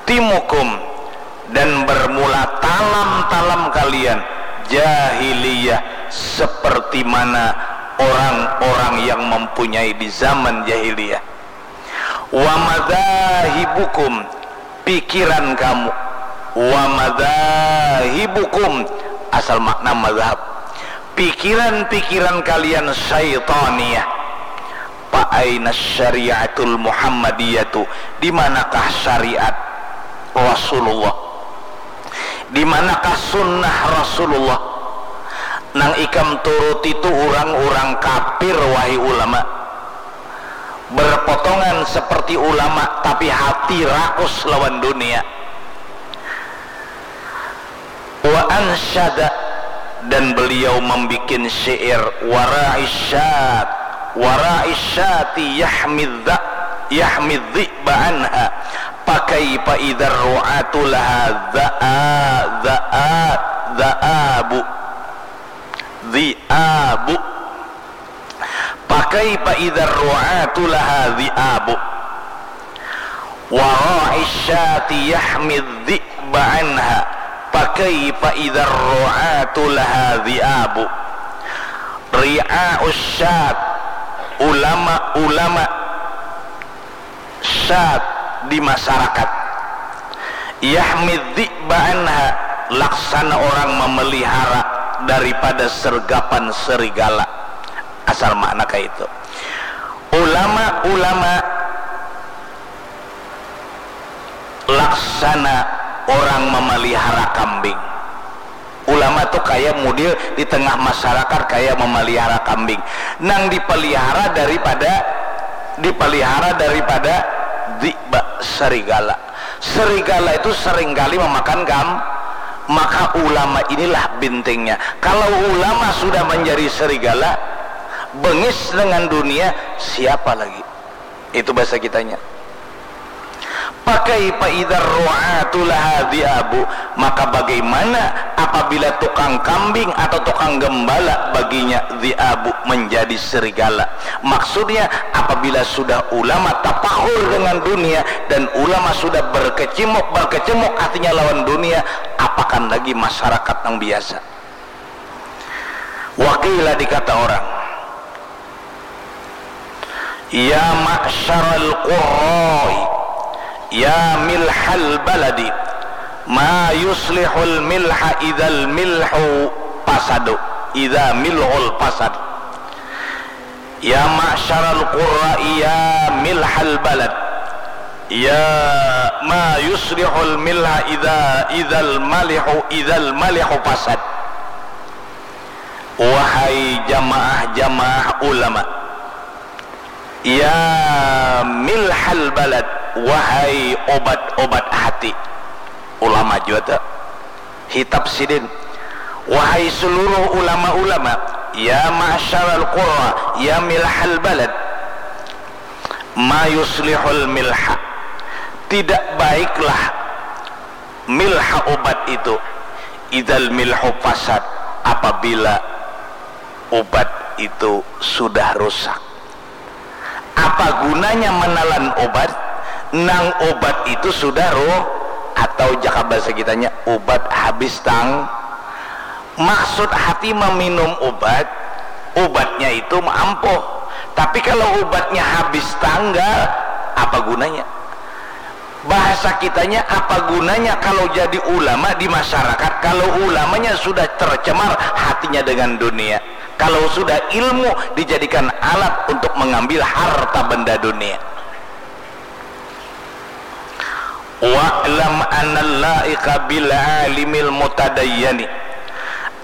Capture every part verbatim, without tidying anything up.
Timukum, dan bermula talam-talam kalian jahiliyah seperti mana orang-orang yang mempunyai di zaman jahiliyah. Wa madzahibukum, pikiran kamu. Wa madzahibukum, asal makna mazhab. Pikiran-pikiran kalian syaitaniyah. Fa aina syariatul Muhammadiyatu, di manakah syariat Rasulullah? Di manakah sunnah Rasulullah? Nang ikam turuti tu urang-urang kafir, wahai ulama. Berpotongan seperti ulama, tapi hati rakus lawan dunia. Wa ansyada, dan beliau membikin syair, wara'i syat, wara'i syati yahmidza, yahmidzi ba'anha. Pakaifa idzar ru'atu laha za'a, za'a, za'abu. Zi'abu. Pakaifa idzar ru'atu laha zi'abu. Wara'i syati yahmid zi'ba anha. Pakaifa idzar ru'atu laha zi'abu. Ri'a'us syat, ulama-ulama syat di masyarakat. Yahmid zi'ba anha, laksana orang memelihara daripada sergapan serigala. Asal makna kaitu. Ulama-ulama laksana orang memelihara kambing. Ulama tu kaya mudil di tengah masyarakat kaya memelihara kambing. Nang dipelihara daripada, dipelihara daripada zi'ba, serigala. Serigala itu seringkali memakan kam-, maka ulama inilah bintingnya. Kalau ulama sudah menjadi serigala, bengis dengan dunia, siapa lagi? Itu bahasa kitanya. Pakaifa idzar ru'atu laha dzi'abu, maka bagaimana apabila tukang kambing atau tukang gembala baginya dzi'abu, menjadi serigala? Maksudnya, apabila sudah ulama tapakhur dengan dunia dan ulama sudah berkecimuk, berkecemuk hatinya lawan dunia, apakan lagi masyarakat nang biasa? Wa qila, dikata orang, ya ma'syaral qurra'i, ya milhal baladi, ma yuslihul milha idzal milhu fasadu, idza milhul fasad. Ya ma'syaral qurra'i, ya milhal balad, ya ma yuslihul milha idza, idzal malihu, idzal malihu fasad. Wahai jamaah-jamaah ulama, ya milhal balad, wahai obat-obat hati. Ulama jua tu, hitap sidin. Wahai seluruh ulama-ulama, ya ma'syaral qurra, ya milhal balad, ma yuslihul milha, tidak baiklah milha, obat itu, idzal milhu fasad, apabila obat itu sudah rusak. Apa gunanya menelan obat, nang obat itu sudah rusak, atau jaka bahasa kitanya, obat habis tang-, maksud hati meminum obat, obatnya itu ampuh. Tapi kalau obatnya habis tanggal, apa gunanya? Bahasa kitanya, apa gunanya kalau jadi ulama di masyarakat, kalau ulamanya sudah tercemar hatinya dengan dunia, kalau sudah ilmu dijadikan alat untuk mengambil harta benda dunia? Wa'lam annal la'iqa bil alimil mutadayyani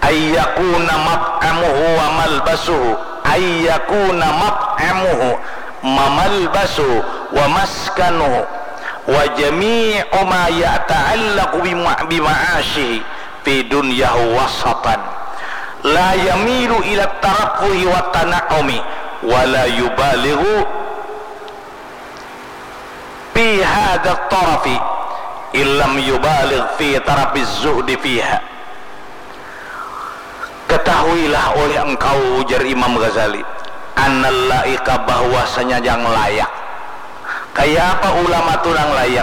ayyakuna mat'amuhu wa malbasuhu, ayyakuna mat'amuhu, mamalbasuhu, wa maskanuhu, wa jami'u ma yata'allaqu bima-, bima'ashihi fi dunyahu wasatan. La yamilu ila tarafuhi wa tana'umi, wa la yubalighu fi hadha tarafi illam yubaligh fi tarafi zuhdi fiha. Ketahuilah oleh engkau, ujar Imam Ghazali, annal laika, bahwasanya yang layak. Kaya apa ulama tu nang layak?